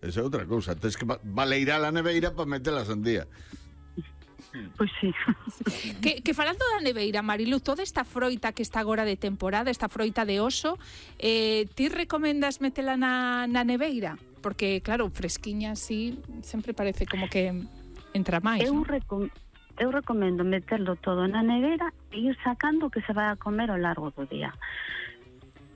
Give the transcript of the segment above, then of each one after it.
Esa é outra cousa. Tens que valeirar a neveira para meter a sandía. Pois sí. Que falando da neveira, Marilu, toda esta froita que está agora de temporada, esta froita de oso, ti recomendas metela na neveira? Porque, claro, fresquiña así, sempre parece como que entra máis, Eu non? recomendo meterlo todo na nevera e ir sacando o que se vai a comer ao largo do día.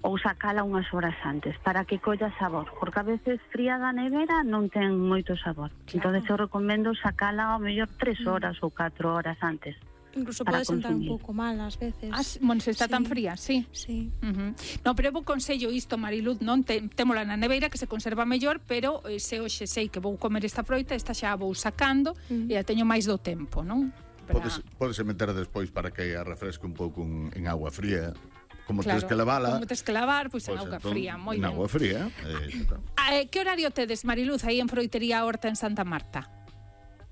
Ou sacala unhas horas antes para que colla sabor, porque a veces fría da nevera non ten moito sabor. Claro. Entonces eu recomendo sacala ao mellor 3 horas ou 4 horas antes. Incluso para pode sentar un consumir. pouco mal ás veces. Bueno, se está Sí. tan fría, sí. Sí. No, pero eu vou consello isto, Mariluz, non témola na neveira que se conserva mellor, pero se hoxe sei que vou comer esta froita, esta xa a vou sacando e a teño máis do tempo, non? Podes meter despois para que a refresque un pouco en agua fría. Como Claro, tens que lavala. como tens que lavar, pois en auga entón, fría, moi en ben. agua fría. Que horario tedes, Mariluz, aí en Froitería Horta en Santa Marta?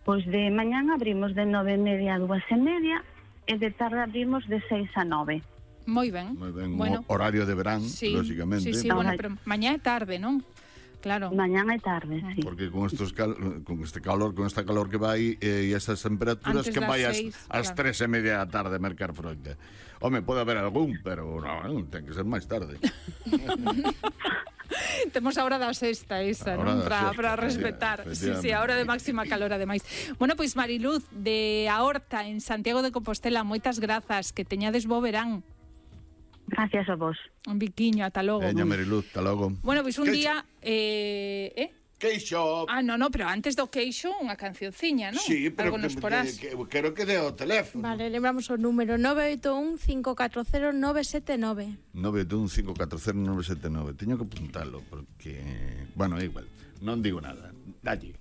Pois de mañán abrimos de 9:30 a 2:30 e de tarde abrimos de 6 a 9. Moi ben. Moi ben, Bueno, horario de verán, sí, lógicamente. Sí, bueno, pero mañá é tarde, non? Claro. Mañán e tarde, sí. Porque con este calor, con esta calor que vai e estas temperaturas, Antes que das vai ás 6, 3:30 da tarde a mercar froita. Home, pode haber algún, pero non, ten que ser máis tarde. Temos a hora da sexta esa, non? Para respetar. Sí, a hora de máxima calor, ademais. Bueno, pois Mariluz, de A Horta, en Santiago de Compostela, moitas grazas, que teñades bo verán. Gracias a vos. Un biquiño, ata logo. Veña, Mariluz, hasta logo. Bueno, pois un día... Queixo. No, pero antes do queixo, unha cancionciña, non? Sí, pero algo nos porás. quero que dé o teléfono. Vale, lembramos o número 981-540-979. 981-540-979. Teño que apuntalo, porque... Bueno, igual, non digo nada. Dalle.